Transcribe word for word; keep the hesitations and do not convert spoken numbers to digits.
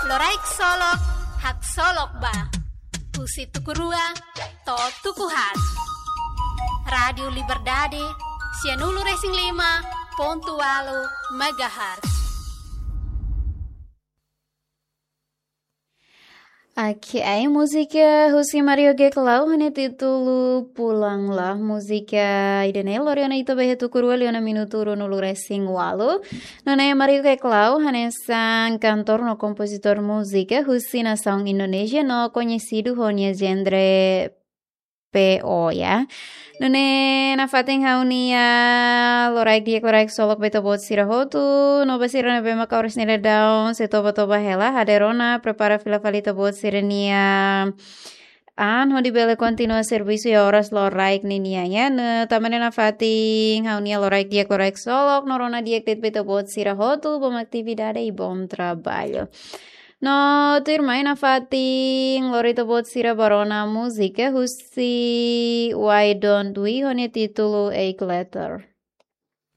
Loraik Solok, haksolok ba. Husi tuku rua to'o tuku haat. Rádiu Liberdade, sianulu-resin-lima pontu ualu megahertz. Oke, ai múzika husi Mario Geklau hanesan títulu Pulanglah. Múzika ida-ne'e lori ona ita ba iha tuku rua liu ona minutu ruanulu-resin-ualu. Nune'e Mario Geklau hanesan kantór no kompozitór múzika husi nasaun Indonézia no koñesidu ho nia genre P O ya. Nune'e nafatin ha'u-nia loraik di'ak, loraik solok ba ita-boot sira hotu, no ba sira ne'ebé maka oras ne'e daudaun sei toba-toba hela, hadeer ona, prepara fila fali ita-boot sira-nia an hodi bele kontinua servisu iha oras loraik ninian ya. Nune'e tanba ne'e nafatin ha'u-nia loraik di'ak, loraik solok no rona di'ak de'it ba ita-boot sira hotu, bom atividade i bom trabalho. No tuirmai nafatin lori ita-boot sira ba rona múzika husi Why Don't We ho nia títulu Eight Letter.